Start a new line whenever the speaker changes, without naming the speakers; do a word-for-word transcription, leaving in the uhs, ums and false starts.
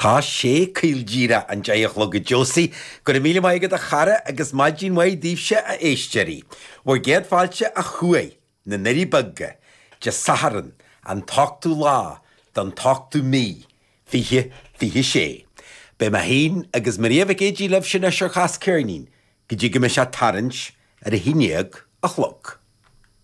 Tá sé caol díreach an deich a chlog a Josie, go raibh míle maith agat a chara agus maidin mhaith daoibhse a éisteoirí. Bhur gcéad fáilte a chuaigh na nDoirí Beaga, Dé Sathairn, an t-ochtú lá den t-ochtú mí, fiche fiche sé. Beidh mé féin agus Maria Mhic Éadaigh libhse anois ar Chas Ceirnín go dtí go mbeidh sé tarraingt ar a haon déag a chlog.